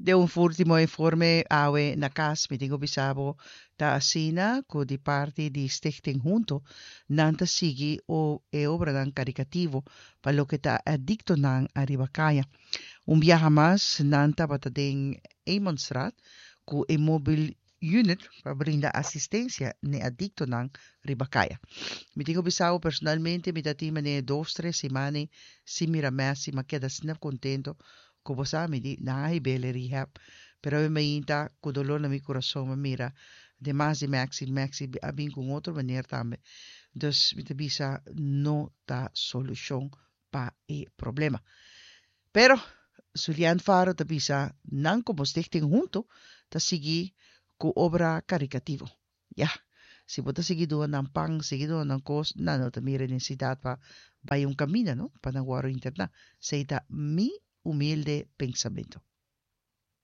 Den un último informe awe na cas, mi tin cu bisa bo ta asina cu di parti di Stichting Hunto nan ta sigui e obranan caricativo pa loke ta adictonan ariba caya. Un biaha mas nan tabata den Emonstraat cu e mobile unit pa brinda asistencia n'e adictonan riba caya. Mi tin cu bisa bo personalmente mi ta tin manera dos tres siman sin mira Messi, m'a keda asina contento cu bo sa mi di nan a hib'el e rehab pero awe mainta cu dolor na mi curason m'a mira demas di Maxi, Maxi a bin cu un otro meneer tambe dus mi ta bisa no ta solucion pa e problema. Pero Zulian Faro ta bisa nan como stichting hunto ta sigui cu obra caricativo. Ya, si bo ta sigui duna nan pan, sigui duna nan cos, nan no ta mira e necesidad pa bay un caminda no, pa nan worde interna. Esey ta mi humilde pensamento.